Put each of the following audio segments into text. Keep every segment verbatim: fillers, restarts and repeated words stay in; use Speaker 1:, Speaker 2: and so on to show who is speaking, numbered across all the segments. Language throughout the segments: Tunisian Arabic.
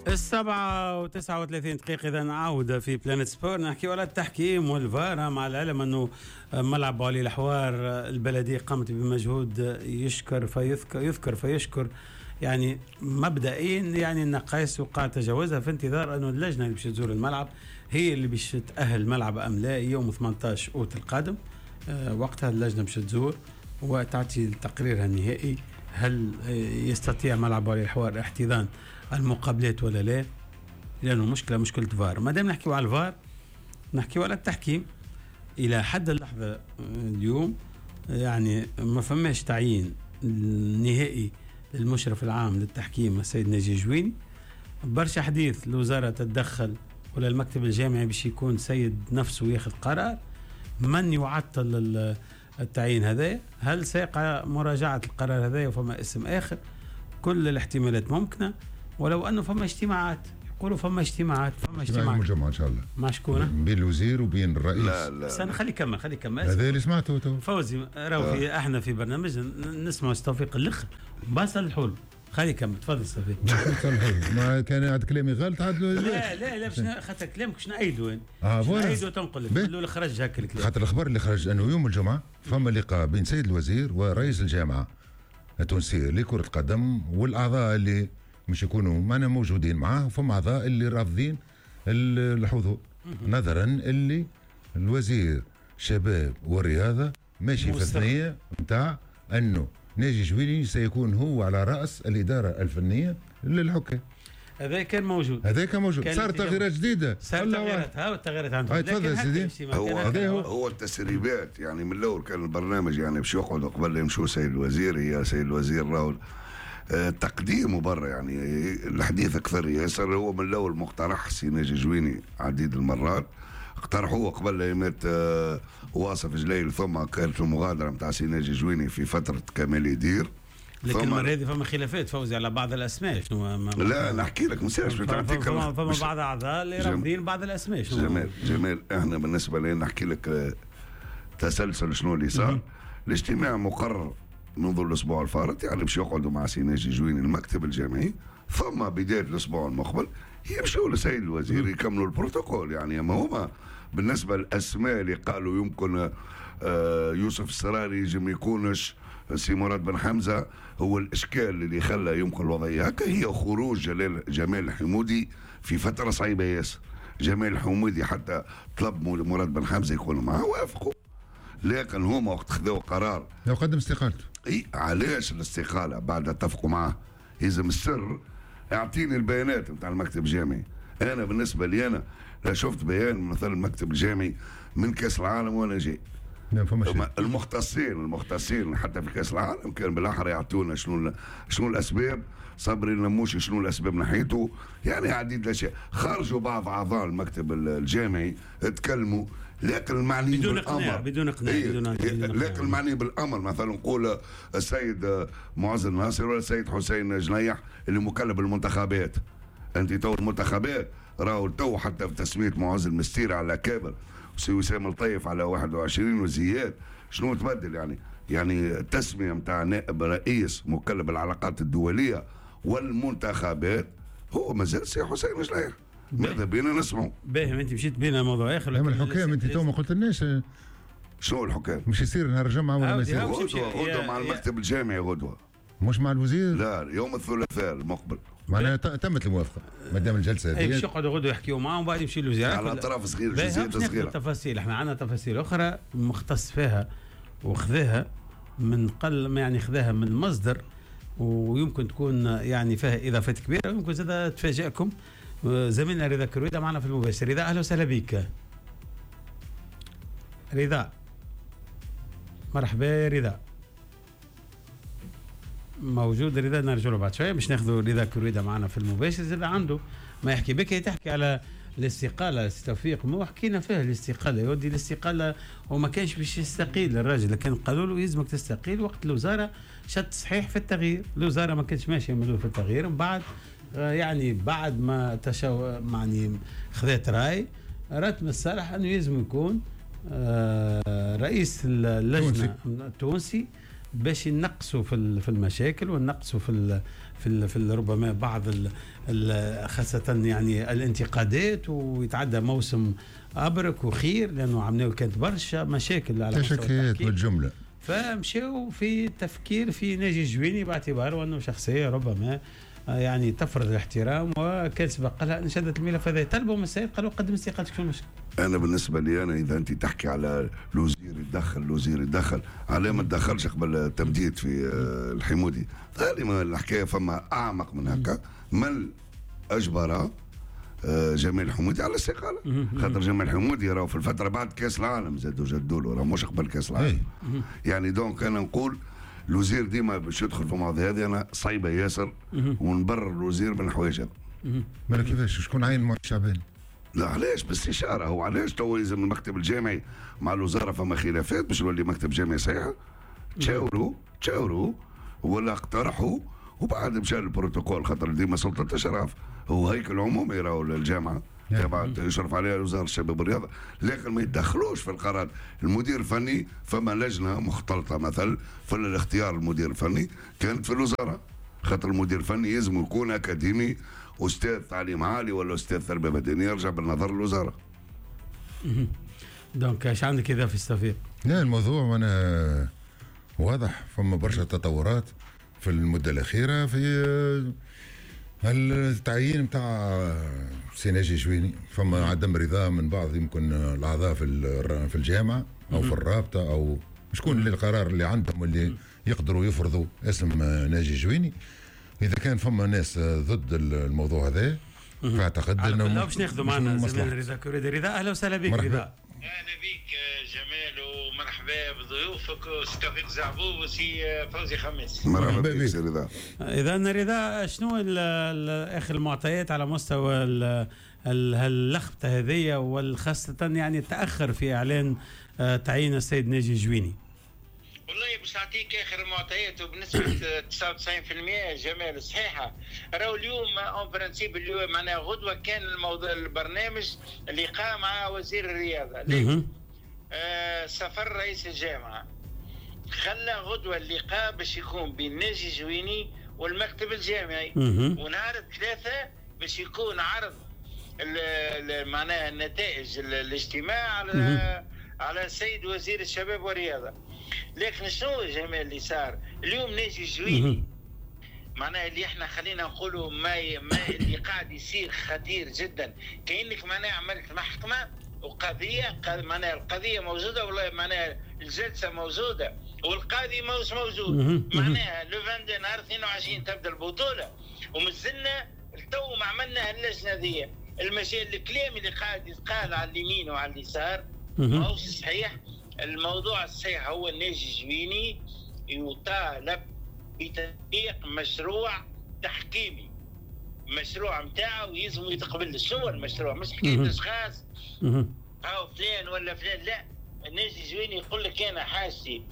Speaker 1: السبعة وتسعة وثلاثين دقيقة. إذا عودة في بلانت سبور نحكي على التحكيم والفار، مع العلم أنه ملعب علي الحوار البلدية قامت بمجهود يشكر فيذكر يذكر فيشكر، يعني مبدئيا يعني النقائص وقع تجاوزها، في انتظار أنه اللجنة اللي باش تزور الملعب هي اللي باش تأهل الملعب أم لا يوم ثمانية عشر أوت القادم. وقتها اللجنة باش تزور وتعطي تقريرها النهائي هل يستطيع ملعب علي الحوار احتضان المقابلات ولا لا، لأنه مشكلة مشكلة فار. ما دام نحكيو على الفار نحكيو على التحكيم. إلى حد اللحظة اليوم يعني ما فماش تعيين نهائي للمشرف العام للتحكيم السيد ناجي جويني. برشا حديث الوزارة تتدخل ولا المكتب الجامعي باش يكون سيد نفسه ياخذ قرار. من يعطل التعيين هذا؟ هل سيقع مراجعة القرار هذا وفما اسم آخر؟ كل الاحتمالات ممكنة، ولو أنه فما اجتماعات، يقولوا فما اجتماعات فما اجتماعات
Speaker 2: يوم الجمعة إن شاء الله
Speaker 1: مع شكون؟
Speaker 2: بين الوزير وبين الرئيس.
Speaker 3: لا لا
Speaker 1: استنى خلي كمل خلي كمل
Speaker 2: هذا اللي سمعته تو
Speaker 1: فوزي. راهو في احنا في برنامج نسمع توفيق الاخر بس الحلول. خلي كمل تفضل صافي.
Speaker 2: ما كان عاد كلامي غلط عاد.
Speaker 1: لا لا لا باش خاطر كلامك باش نعيدو
Speaker 2: اه
Speaker 1: voilà نعيدو تنقل لك خرج هكا الكلام.
Speaker 2: خاطر الخبر اللي خرج انه يوم الجمعة فما لقاء بين سيد الوزير ورئيس الجامعة التونسية لكرة القدم والاعضاء اللي مش يكونوا معنا موجودين معاه، وفما اعضاء اللي رافضين الحضور نظرا اللي الوزير شباب والرياضة ماشي في الثنية نتاع انه ناجي جويني سيكون هو على رأس الإدارة الفنية للحكام.
Speaker 1: هذا كان موجود،
Speaker 2: هذا كان موجود. صار تغييرات جديدة،
Speaker 1: صار تغييرات، ها التغييرات عندهم.
Speaker 2: تفضل سيدي.
Speaker 3: هو هو, هو التسريبات يعني من الأول كان البرنامج يعني باش يقعدوا قبل يمشوا سيد الوزير، يا سيد الوزير راهو تقديمه برا يعني الحديث أكثر ياسر. هو من الأول مقترح سي ناجي جويني عديد المرات اقترحوه قبل ايامات واصف جليل، ثم كانت المغادرة نتاع سي ناجي جويني في فترة كمال يدير.
Speaker 1: لكن المرة هذه فما خلافات فوزي على بعض الاسماء. شنو ما
Speaker 3: لا نحكي لك ما سيرش
Speaker 1: تعطيك فما, فما بعض اعضاء اللي رافضين بعض الاسماء. شنو
Speaker 3: جمال جمال احنا بالنسبة لنا نحكي لك تسلسل شنو اللي صار. الاجتماع مقرر منذ الاسبوع الفارط يعني باش يقعدوا مع سي ناجي جويني المكتب الجامعي، ثم بداية الاسبوع المقبل يمشوا لسيد الوزير يكملوا البروتوكول. يعني ما هما بالنسبة للاسماء اللي قالوا يمكن يوسف السراري يجم يكونش سي مراد بن حمزة، هو الاشكال اللي خلى يمكن الوضعية هكا هي خروج جلال جمال الحمودي في فترة صعيبة ياسر. جمال الحمودي حتى طلب مراد بن حمزة يكون معه وافقوا، لكن هما وقت خذوا قرار
Speaker 2: لو قدم استقالته.
Speaker 3: اي علاش الاستقالة بعد اتفقوا معاه؟ يلزم السر اعطيني البيانات نتاع المكتب الجامعي. انا بالنسبة لي انا لا شفت بيان مثلا المكتب الجامعي من كاس العالم وانا جاي. المختصين المختصين حتى في كاس العالم كان بالاحرى يعطونا شنو شنو الاسباب، صبري النموشي شنو الاسباب ناحيته، يعني عديد الاشياء. خرجوا بعض اعضاء المكتب الجامعي تكلموا، لكن المعني
Speaker 1: بدون
Speaker 3: بالامر
Speaker 1: بدون اقناع
Speaker 3: إيه
Speaker 1: بدون
Speaker 3: لكن المعني بالامر مثلا نقول السيد معز الناصر ولا السيد حسين جنيح اللي مكلف بالمنتخبات. انت تو المنتخبات راهو تو حتى في تسميه معز المستير على كابر وسي وسام الطيف على واحد وعشرين وزياد شنو تبدل يعني يعني التسمية نتاع نائب رئيس مكلف بالعلاقات الدولية والمنتخبات هو مازال سي حسين جنيح. ماذا بينا نسمعوا؟
Speaker 1: باهي انت مشيت بينا موضوع اخر.
Speaker 2: لكن الحكام انت تو ما قلتلناش
Speaker 3: شنو الحكام؟
Speaker 2: مش يصير نهار الجمعة ولا ما يصير؟
Speaker 3: غدوه غدوه مع المكتب الجامعي غدوه،
Speaker 2: مش مع الوزير؟
Speaker 3: لا يوم الثلاثاء المقبل.
Speaker 2: معناها تمت الموافقة ما دام الجلسة هذه.
Speaker 1: اي باش يقعدوا غدوه يحكيوا معاهم وبعد يمشي للوزير
Speaker 3: على اطراف صغيرة جزئيات صغيرة.
Speaker 1: تفاصيل احنا عندنا تفاصيل اخرى مختص فيها وخذاها من قل يعني خذاها من مصدر، ويمكن تكون يعني فيها اضافات كبيرة ويمكن زاد تفاجئكم. زميلنا رضا كرويدة معنا في المباشر. رضا اهلا وسهلا بك. رضا مرحبا. رضا موجود؟ رضا نرجع له بعد شوية باش ناخذوا رضا كرويدة معنا في المباشر. زاد عنده ما يحكي بك. تحكي على الاستقالة توفيق، مو حكينا فيها الاستقالة يودي الاستقالة وما كانش باش يستقيل الراجل، لكن قالوا له يلزمك تستقيل وقت الوزارة شد صحيح في التغيير. الوزارة ما كانش ماشية من في التغيير، من بعد يعني بعد ما تشو يعني خذت راي رتم الصالح انه يلزم يكون رئيس اللجنة التونسي باش ينقصوا في في المشاكل ونقصوا في في في ربما بعض ال خاصة يعني الانتقادات، ويتعدى موسم ابرك وخير، لانه عملناه كانت برشا مشاكل على
Speaker 2: مستوى بالجملة.
Speaker 1: فمشاو في التفكير في ناجي الجويني باعتباره انه شخصية ربما يعني تفرض الاحترام، وكان سبق لها نشدت الملف هذا. طلبوا من السيد قالوا قدم استقالتك، شو المشكل؟
Speaker 3: انا بالنسبة لي انا اذا انت تحكي على الوزير يتدخل الوزير يتدخل، علاه ما تدخلش قبل التمديد في الحمودي؟ غالبا الحكاية فما اعمق من هكا. من اجبر جمال الحمودي على الاستقالة؟ خاطر جمال الحمودي راهو في الفترة بعد كاس العالم زادوا جدوا له، راه مش قبل كاس العالم. يعني donc انا نقول الوزير ديما باش يدخل في المواضيع هذه انا صعيبة ياسر، ونبرر الوزير من الحوايج هذا.
Speaker 2: مالا كيفاش شكون عين معين شعبان؟
Speaker 3: لا علاش باستشاره؟ هو علاش تو لازم المكتب الجامعي مع الوزارة فما خلافات باش يولي مكتب جامعي صحيح؟ تشاوروا تشاوروا ولا اقترحوا وبعد مشى البروتوكول، خاطر ديما سلطة الاشراف هو هيكل عمومي راهو للجامعة تبع يشرف عليها وزارة الشباب والرياضة، لكن ما يتدخلوش في القرار. المدير الفني فما لجنة مختلطة مثلا في الاختيار المدير الفني كانت في الوزارة، خاطر المدير الفني لازم يكون اكاديمي، استاذ تعليم عالي ولا استاذ تربيه بدنية، يرجع بالنظر للوزارة.
Speaker 1: donc اش عندك اذا في التوفيق؟
Speaker 2: لا الموضوع وانا واضح، فما برشا تطورات في المدة الاخيرة في التعيين نتاع سي ناجي جويني، فما عدم رضا من بعض يمكن الاعضاء في في الجامعة او في الرابطة او شكون اللي القرار اللي عندهم اللي يقدروا يفرضوا اسم ناجي جويني. اذا كان فما ناس ضد الموضوع هذا فاعتقد انه
Speaker 1: باش ناخذوا معنا زميلنا رضا كوريدي. رضا اهلا وسهلا بك. رضا
Speaker 4: اهلا بك جمال، ومرحبا بضيوفك وسي توفيق زعبوب وسي فوزي خميس.
Speaker 3: مرحبا بك سي رضا.
Speaker 1: اذا رضا، شنو اخر المعطيات على مستوى اللخبطة هذه، وخاصة يعني التاخر في اعلان تعيين السيد ناجي جويني؟
Speaker 4: والله باش نعطيك اخر المعطيات وبنسبة تسعة وتسعين بالمئة جمال صحيحه. راهو اليوم en principe اليوم معناها غدوه كان الموضوع البرنامج اللقاء مع وزير الرياضة، لكن آه سفر رئيس الجامعة خلى غدوه اللقاء باش يكون بين ناجي جويني والمكتب الجامعي، ونهار الثلاثاء باش يكون عرض معناها النتائج الاجتماع على على السيد وزير الشباب والرياضة. لكن شنو جمال اللي صار اليوم؟ ناجي جويني معناها اللي احنا خلينا نقولوا ما, ي... ما اللي قاعد يصير خطير جدا، كأنك معناها عملت محكمة وقضية، معناها القضية موجودة والله معناها الجلسة موجودة والقاضي مش موجود، معناها لو اثنين وعشرين نهار اثنين وعشرين تبدا البطولة ومازلنا تو ما عملنا اللجنة ذي. المشي الكلام اللي قاعد يتقال على اليمين وعلى اليسار ماهوش صحيح. الموضوع الصحيح هو ناجي جويني يطالب بتطبيق مشروع تحكيمي، مشروع نتاعو يلزم يتقبل. شنو المشروع؟ مش حكاية اشخاص او فلان ولا فلان، لا ناجي جويني يقول لك انا حاجتي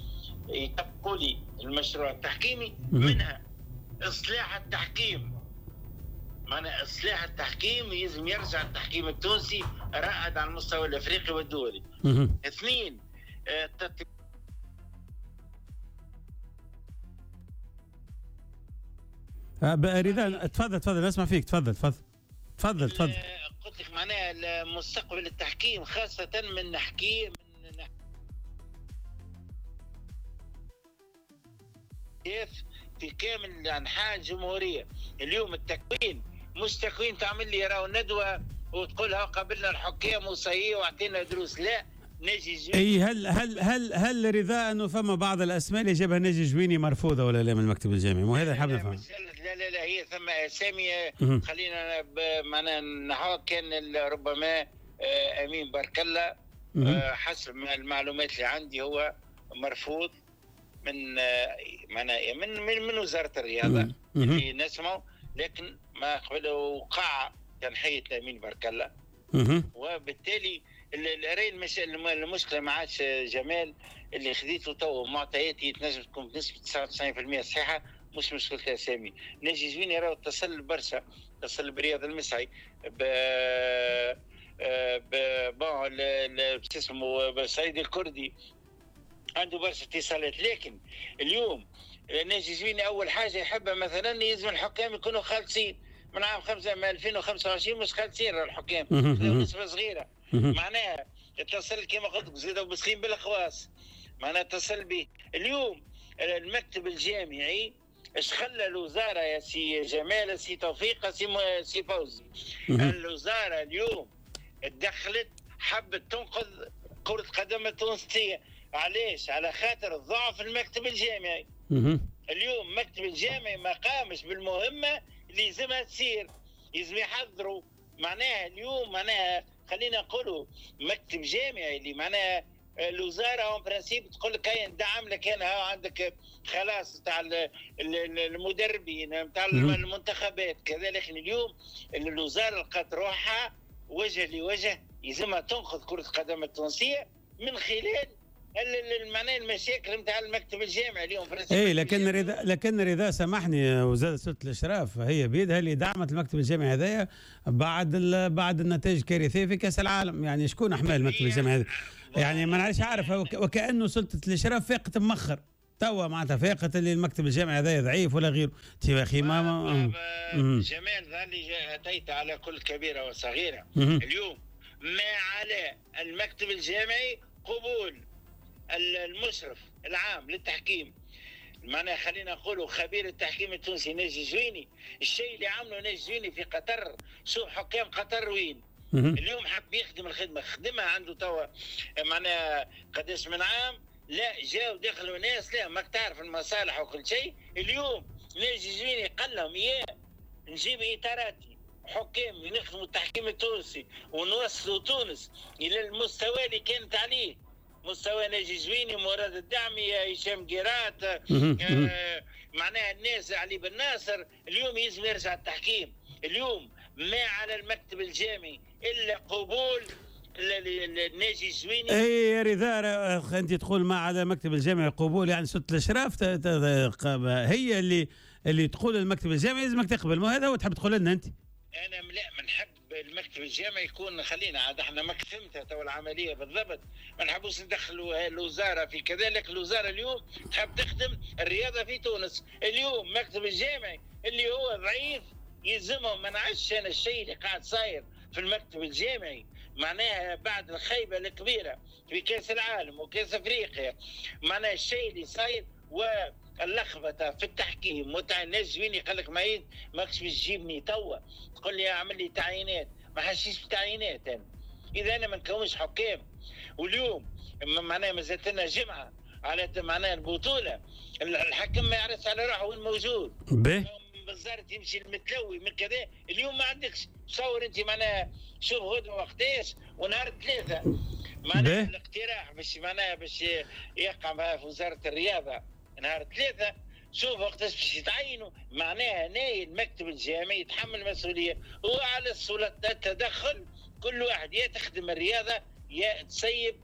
Speaker 4: يطبقوا لي المشروع التحكيمي، منها اصلاح التحكيم. معنى اصلاح التحكيم يلزم يرجع التحكيم التونسي رائد على المستوى الافريقي والدولي. اثنين تطبيق
Speaker 1: رضا تفضل تفضل نسمع فيك، تفضل تفضل تفضل تفضل.
Speaker 4: قلت لك معناها مستقبل التحكيم خاصة من نحكي من كيف في كامل أنحاء الجمهورية. اليوم التكوين مش تكوين تعمل لي راهو ندوة وتقولها قابلنا الحكام وصحيح واعطينا دروس، لا ناجي جويني.
Speaker 1: اي هل هل هل هل رضا انه فما بعض الاسماء اللي جابها ناجي جويني مرفوضة ولا لا من المكتب الجامعي؟ مو هذا حاب نفهم.
Speaker 4: لا لا لا هي ثم اسامي خلينا معناها نحاول كان ربما امين بارك الله حسب المعلومات اللي عندي هو مرفوض من معناها من من, من وزارة الرياضة اللي نسمعه، لكن ما قبل وقع تنحيه امين بارك الله، وبالتالي الرأي المشكلة ما عادش جمال اللي خذيته تو معطياتي تنجم تكون بنسبة تسعة وتسعين بالمئة صحيحه، مش مشكلة اسامي. ناجي جويني راهو اتصل برشا، اتصل برياض المسعي ب ب bon اسمه سعيد الكردي، عنده برشا اتصالات. لكن اليوم ناجي جويني اول حاجة يحبها مثلا يلزم الحكام يكونوا خالصين من عام خمسة من ألفين وخمسة وعشرين مش خالصين الحكام، نسبه صغيرة. معناها اتصل كما قلت لك زيدوا بسخين بالخواص، معناها اتصل به. اليوم المكتب الجامعي اش خلى الوزارة يا سي جمال، سي توفيق، سي سي فوزي، الوزارة اليوم تدخلت حبت تنقذ كره القدم التونسية. علاش؟ على خاطر ضعف المكتب الجامعي. اليوم المكتب الجامعي ما قامش بالمهمه اللي لازمها تصير، لازم يحضروا. معناها اليوم معناها خلينا نقولوا مكتب جامعي اللي معناها الوزارة en principe تقول لك هاي ندعم لك انا، عندك خلاص تاع المدربين نتاع المنتخبات كذا. لكن اليوم الوزارة لقات روحها وجه لوجه يلزمها تنقذ كره القدم التونسية من خلال معناها المشاكل نتاع المكتب الجامعي اليوم.
Speaker 1: اي لكن رضا، لكن رضا سامحني، وزارة سلطة الاشراف هي بيدها اللي دعمت المكتب الجامعي هذايا بعد بعد النتائج الكارثية في كاس العالم. يعني شكون حمل المكتب الجامعي هذا؟ يعني ما نعرفش، عارف وكانه سلطة الاشراف فاقت مخر توا، معناتها فاقت اللي المكتب الجامعي هذا ضعيف ولا غيره. يا اخي ما, ما
Speaker 4: جمال ظل اتيت على كل كبيرة وصغيره. اليوم ما على المكتب الجامعي قبول المشرف العام للتحكيم، معناها خلينا نقولوا خبير التحكيم التونسي ناجي جويني. الشيء اللي عمله ناجي جويني في قطر، شوف حكام قطر وين اليوم حب يخدم الخدمة، خدمها عنده توا معناها قداش من عام، لا جاوا دخلوا ناس لا ماك تعرف المصالح وكل شيء. اليوم ناجي جويني قال لهم يا نجيب اطاراتي حكام نخدموا التحكيم التونسي ونوصلوا تونس الى المستوى اللي كانت عليه، مستوى ناجي جويني، مراد الدعمي، هشام قيرات، آه معناها الناس علي بن ناصر. اليوم يلزم يرجع التحكيم. اليوم ما على المكتب الجامعي الا قبول الناجي الجويني.
Speaker 1: اي يا رضا، انت تقول ما على المكتب الجامعي قبول، يعني سلطة الاشراف هي اللي اللي تقول المكتب الجامعي لازمك تقبل، ما هذا هو تحب تقول لنا انت؟
Speaker 4: انا لا، ما نحب المكتب الجامعي يكون، خلينا عاد احنا ما فهمتها تو العملية بالضبط، ما نحبوش ندخلوا الوزارة في كذلك. الوزارة اليوم تحب تخدم الرياضة في تونس. اليوم المكتب الجامعي اللي هو ضعيف يلزمهم. ما نعرفش انا الشيء اللي قاعد صاير في المكتب الجامعي، معناها بعد الخيبه الكبيرة في كاس العالم وكاس افريقيا، معناها الشيء اللي صاير واللخبطه في التحكيم وتاع الناس جويني قال لك ما ماكش باش تجيبني توا تقول لي اعمل لي تعيينات، ما حشيش بتعيينات انا اذا انا ما نكونش حكام. واليوم معناها مازالت لنا جمعه على معناها البطولة، الحكم ما يعرفش على روحه وين موجود. بالزارت يمشي المتلوي من كذا. اليوم ما عندكش تصور انت معناها شوف غدوه وقتاش ونهار ثلاثة معناها الاقتراح باش معناها باش يقع في وزارة الرياضة نهار ثلاثة، شوف وقتاش باش يتعينوا. معناها ناي المكتب الجامعي يتحمل المسؤولية وعلى السلطة التدخل، كل واحد يا تخدم الرياضة يا تسيب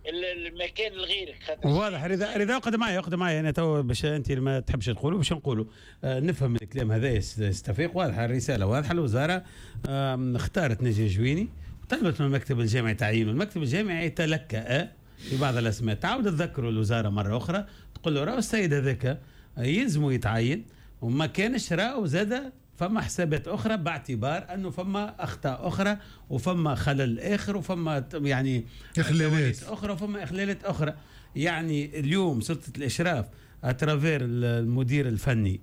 Speaker 4: المكان لغيرك.
Speaker 1: واضح رضا. رضا اقعد معي، اقعد معي انا تو باش انت ما تحبش تقولوا باش نقولوا آه نفهم الكلام هذا يستفيق. واضحة الرسالة، واضحة. الوزارة آه اختارت ناجي جويني وطلبت من المكتب الجامعي تعيينه. المكتب الجامعي تلكأ في بعض الاسماء. تعاود تذكروا الوزارة مرة اخرى، تقول له راهو السيد هذاك يلزمه يتعين، وما كانش راهو زاد فما حسابات اخرى باعتبار انه فما اخطاء اخرى وفما خلل اخر وفما يعني
Speaker 2: اخلالات
Speaker 1: اخرى وفما اخلالات اخرى. يعني اليوم سلطة الاشراف à travers المدير الفني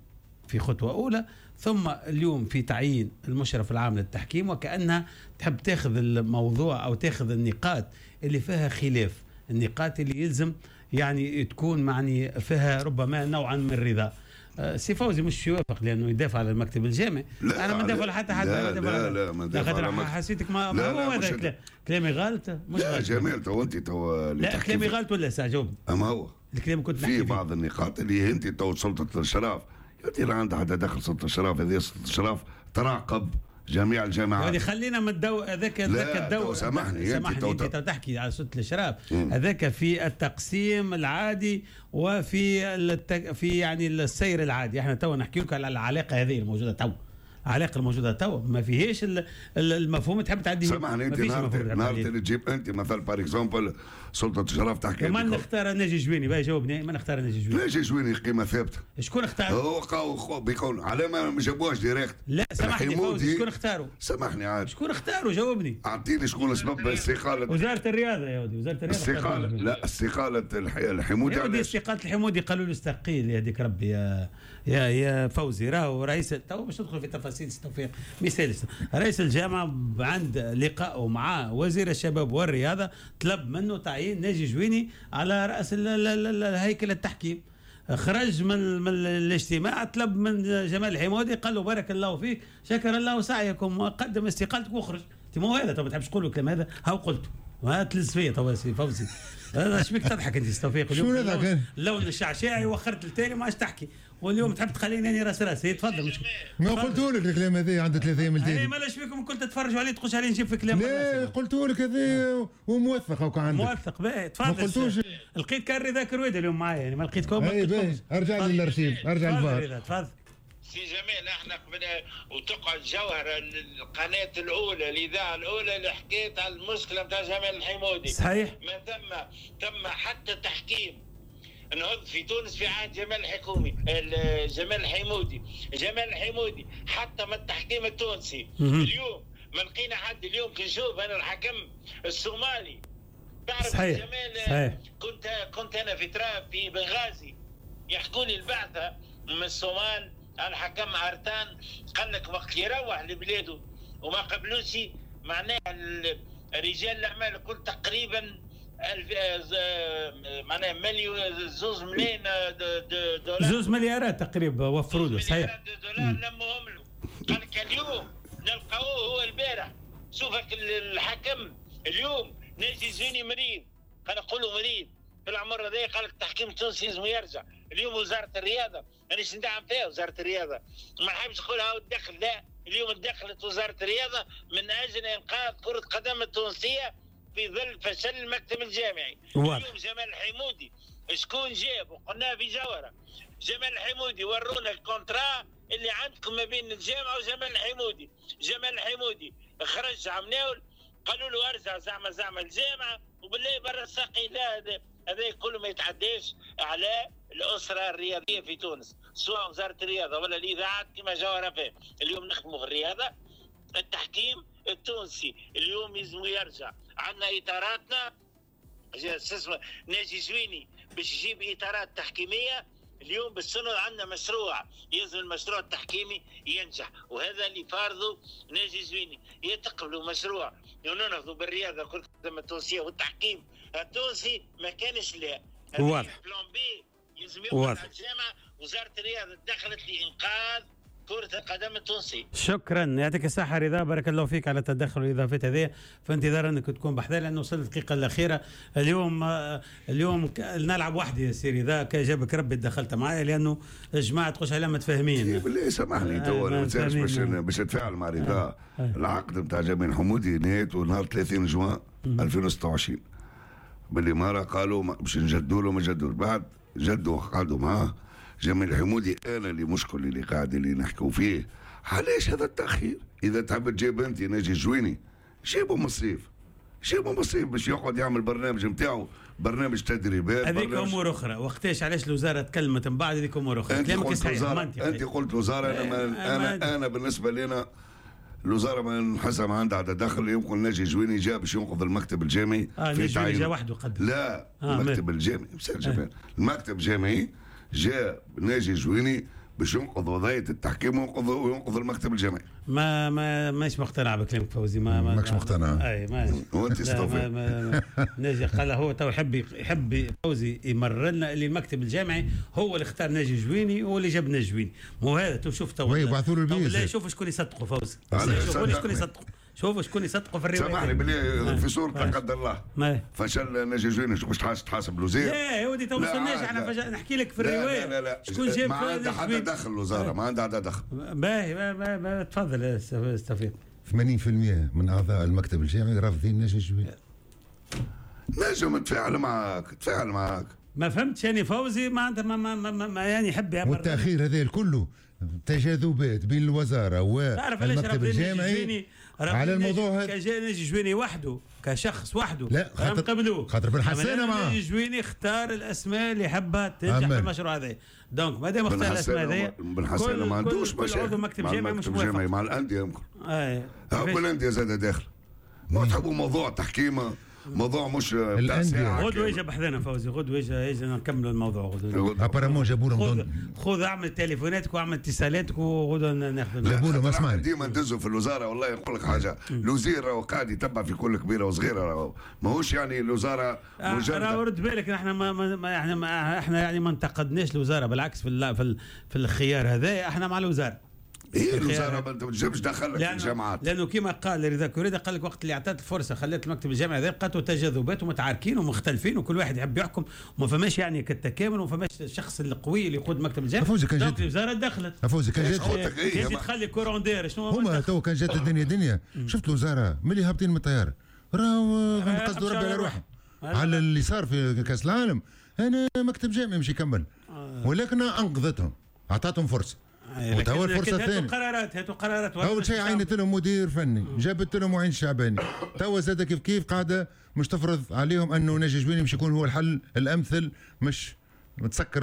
Speaker 1: في خطوة اولى، ثم اليوم في تعيين المشرف العام للتحكيم، وكانها تحب تاخذ الموضوع او تاخذ النقاط اللي فيها خلاف، النقاط اللي يلزم يعني تكون معني فيها ربما نوعا من الرضا. سي فوزي مش يوافق لانه يدافع على المكتب الجامعي. انا ما ندافع حتى حد.
Speaker 3: لا لا لا ما ندافع على
Speaker 1: حسيتك ما لا هو هذا كلامي غلط مش
Speaker 3: لا
Speaker 1: غلط.
Speaker 3: جمال تو انت تو
Speaker 1: لا كلامي غلط ولا ساعة جاوبني.
Speaker 3: اما هو
Speaker 1: الكلام كنت
Speaker 3: نحكي في بعض النقاط اللي انت تو سلطة الاشراف انت لا عندها حتى دخل سلطة الاشراف. هذه سلطة الاشراف تراقب جميع الجامعات.
Speaker 1: يعني خلينا من الدو هذاك هذاك الدو.
Speaker 3: سامحني
Speaker 1: سامحني انت تحكي على سلطة الاشراف هذاك في التقسيم العادي وفي التك... في يعني السير العادي. احنا تو نحكي لك على العلاقة هذه الموجودة تو، العلاقة الموجودة توا ما فيهاش المفهوم تحب تعدي.
Speaker 3: سامحني انت نهار نهار اللي تجيب انت مثلا par exemple سلطة الشرف تحكي
Speaker 1: ما نختار ناجي جويني باهي جاوبني، ما نختار ناجي جويني.
Speaker 3: ناجي جويني قيمة ثابتة.
Speaker 1: شكون اختار؟
Speaker 3: هو بيكون على ما جابوهاش direct.
Speaker 1: لا سامحني فوزي شكون اختاروا؟
Speaker 3: سامحني عاد
Speaker 1: شكون اختاروا جاوبني.
Speaker 3: اعطيني شكون سبب استقالة
Speaker 1: وزارة الرياضة يا ودي. وزارة الرياضة
Speaker 3: استقالة لا استقالة الحمودي.
Speaker 1: يا ودي استقالة الحمودي قالوا له استقيل يهديك ربي يا يا يا فوزي. راهو رئيس تو باش ندخل في تفاصيل توفيق مثال رئيس الجامعة عند لقائه مع وزير الشباب والرياضة طلب منه تعيين ناجي جويني على راس هيكل التحكيم. خرج من من الاجتماع طلب من جمال الحمودي قال له بارك الله فيك شكر الله سعيكم وقدم استقالتك واخرج. انت مو هذا طب ما تحبش تقول الكلام هذا هاو قلته ما تلز فيا تو سي فوزي. اش بيك تضحك انت توفيق
Speaker 2: اليوم؟ شو
Speaker 1: اللون الشعشاعي وخرت التالي ما عادش تحكي واليوم تحب تخليني اني راس راسي. تفضل مش
Speaker 2: ما قلت لك الكلام هذا عند ثلاثة ايام التالي.
Speaker 1: ما لاش بيكم كنت تتفرجوا عليه تقولش عليه نجيب في كلام.
Speaker 2: لا قلت لك هذا وموثق هاكا عندك
Speaker 1: موثق باهي تفضل. ما
Speaker 2: قلتوش
Speaker 1: لقيت كان رضا كرويده اليوم معايا يعني ما لقيتكم.
Speaker 2: اي باهي ارجع للارشيف ارجع للفار
Speaker 1: تفضل
Speaker 4: سي جمال. احنا قبل وتقعد جوهره القناة الاولى الاذاعة الاولى اللي حكيت على المشكلة نتاع جمال الحمودي.
Speaker 1: صحيح
Speaker 4: ما تم تم حتى تحكيم نهض في تونس في عهد جمال الحكومي جمال الحمودي. جمال الحمودي حتى من التحكيم التونسي اليوم ما لقينا حد. اليوم كي نشوف انا الحكم الصومالي تعرف
Speaker 1: صحيح.
Speaker 4: جمال
Speaker 1: صحيح.
Speaker 4: كنت كنت انا في تراب في بنغازي يحكوا لي البعثة من الصومال الحكم ارتان قال لك وقت يروح لبلاده وما قبلوش معناها رجال الاعمال الكل تقريبا ألف معناها مليون زوز ملايين دولار
Speaker 1: زوز مليارات تقريبا وفروا له. صحيح
Speaker 4: دولار لمهم له. قال لك اليوم نلقاوه هو البارح. شوفك الحكم اليوم ناجي زيني مريض قال نقولوا مريض في العمر هذا قال لك التحكيم التونسي لازم يرجع. اليوم وزارة الرياضة مانيش ندعم فيها وزارة الرياضة ما نحبش نقولها الدخل لا. اليوم دخلت وزارة الرياضة من اجل انقاذ كره قدم التونسية في ظل فشل المكتب الجامعي.
Speaker 1: واضح.
Speaker 4: اليوم جمال الحمودي شكون جاب وقلناها في جوهره جمال الحمودي ورونا ال contrat اللي عندكم ما بين الجامعة وجمال الحمودي. جمال الحمودي خرج عمناول قالوا له ارجع زعما زعما الجامعة وبالله برا الساقي. لا هذا هذا كله ما يتعداش على الاسرة الرياضية في تونس سواء وزارة الرياضة ولا الاذاعات كما جوهره فيه. اليوم نخدموا في الرياضة التحكيم التونسي اليوم يلزم يرجع. عندنا اطاراتنا ناجي زويني باش يجيب اطارات تحكيميه اليوم بالسنة عندنا مشروع يلزم المشروع التحكيمي ينجح وهذا اللي فارضه ناجي زويني. يتقبلوا مشروع وننهضوا بالرياضة كره القدم التونسية والتحكيم التونسي ما كانش لا
Speaker 1: واضح
Speaker 4: plan B يلزم يقعد على الجامعة. وزارة الرياضة دخلت لانقاذ كرة القدم التونسي.
Speaker 1: شكرا يعطيك الصحة رضا بارك الله فيك على التدخل والإضافات هذه. في انتظار انك تكون بحذا لأنه وصلت الدقيقة الأخيرة. اليوم اليوم نلعب وحدي يا سي رضا كي جابك ربي تدخلت معايا لأنه الجماعة تخش عليها متفاهمين.
Speaker 3: بالله سامحني تو ما تنساش باش باش نتفاعل مع رضا. العقد نتاع جمال حمودي نهايته نهار ثلاثين جوان ألفين وستة وعشرين بالإمارة قالوا باش نجدوا له ما جدوا بعد جدوا قعدوا معاه جمال الحمودي. انا اللي مشكل اللي قاعد اللي نحكوا فيه علاش هذا التاخير؟ اذا تحب تجيب انت ناجي جويني جيبه من الصيف جيبه من الصيف باش يقعد يعمل برنامج نتاعو برنامج تدريبات.
Speaker 1: هذيك امور اخرى وقتاش علاش الوزارة تكلمت من بعد هذيك امور اخرى.
Speaker 3: انت قلت وزارة انت قلت وزارة انا ما انا انا بالنسبة لنا الوزارة ما نحسها ما عندها تدخل. يمكن ناجي جويني جاء باش ينقذ المكتب الجامعي.
Speaker 1: آه في ناجي جا وحده قدم
Speaker 3: لا آه المكتب الجامعي آه. المكتب الجامعي جاء ناجي جويني باش ينقذ وضعية التحكيم وينقذ وينقذ المكتب الجامعي.
Speaker 1: ما ما مانيش مقتنع بكلامك فوزي. ما ما
Speaker 2: ماكش مقتنع.
Speaker 1: اي ما
Speaker 3: وانت استوفي.
Speaker 1: ناجي قال هو تو يحب يحب فوزي يمر لنا اللي المكتب الجامعي هو اللي اختار ناجي جويني هو اللي جاب ناجي جويني. مو هذا تو شوف تو
Speaker 2: يبعثوا له البيس.
Speaker 1: لا شوف شكون يصدقوا فوزي. شوفوا شكون يصدقوا. شوفوا شكون يصدقوا في الرواية.
Speaker 3: سامحني بالله في صورة لا قدر الله فشل ناجي جويني باش تحاسب الوزير.
Speaker 1: لا يا ودي تو ما وصلناش احنا فجأة نحكي لك في الرواية.
Speaker 3: لا لا لا
Speaker 1: شكون جاب
Speaker 3: ما عندها حتى دخل الوزارة ما عندها حتى دخل.
Speaker 1: باهي تفضل يا توفيق.
Speaker 2: ثمانين بالمئة من اعضاء المكتب الجامعي رافضين ناجي جويني.
Speaker 3: نجم تفاعل معاك تفاعل معاك.
Speaker 1: ما فهمتش يعني فوزي ما ما ما, ما, ما يعني يحب يعبر.
Speaker 2: والتاخير هذا الكل تجاذبات بين الوزارة والمكتب الجامعي على الموضوع هذا.
Speaker 1: كجا ناجي جويني وحده كشخص وحده
Speaker 2: لا خاطر
Speaker 1: قبلوه،
Speaker 2: خاطر بن حسانه معاه.
Speaker 1: ناجي جويني اختار الاسماء اللي يحبها تنجح في المشروع هذا، donc ما دام اختار الاسماء هذه
Speaker 3: بن حسانه ما عندوش مشاكل
Speaker 1: مكتب جامعي مش موافق
Speaker 3: مع الاندية يمكن. اي كل الاندية زاد داخل ما تحبوا موضوع تحكيم، موضوع مش
Speaker 2: بتاع
Speaker 1: غدوه يجي بحذانا فوزي، غدوه يجي يجي نكملوا الموضوع غدوه.
Speaker 2: apparemment جابوا لهم
Speaker 1: خذ اعمل تليفوناتك واعمل اتصالاتك وغدوه ناخذ.
Speaker 2: جابوا لهم اسمعني
Speaker 3: ديما ندزوا في الوزارة. والله نقول لك حاجة، الوزير راهو قاعد يتبع في كل كبيرة وصغيره، راهو ماهوش يعني الوزارة
Speaker 1: مجرد. راهو رد بالك نحن ما, ما احنا ما احنا يعني ما انتقدناش الوزارة، بالعكس في في, في الخيار هذا احنا مع الوزارة.
Speaker 3: ايه الوزارة ما تنجمش تدخلك في الجامعات،
Speaker 1: لانه كما قال رضا كوريدا قال لك وقت اللي اعطت الفرصة خلت المكتب الجامعي هذا لقاتوا تجاذبات ومتعاركين ومختلفين وكل واحد يحب يحكم وما فماش يعني كالتكامل وما فماش الشخص القوي اللي يقود المكتب الجامعي.
Speaker 2: فوزي كان جات
Speaker 1: الوزارة دخلت.
Speaker 2: فوزي كان جات
Speaker 1: جات تخلي courant d'air شنو
Speaker 2: هما تو كان جات الدنيا دنيا. شفت الوزارة ملي هابطين من الطيارة راهو قصدوا ربي على روحهم على اللي صار في كاس العالم. انا مكتب جامعي مش يكمل، ولكن انقذتهم اعطتهم فرصة. وتوا الفرصة الثانية
Speaker 1: هاتوا قرارات، هاتوا قرارات.
Speaker 2: اول شيء عينت لهم مدير فني، جابت لهم معين شعباني، توا زاد كيف كيف قاعدة مش تفرض عليهم انه ناجي جويني مش يكون هو الحل الامثل، مش متسكر.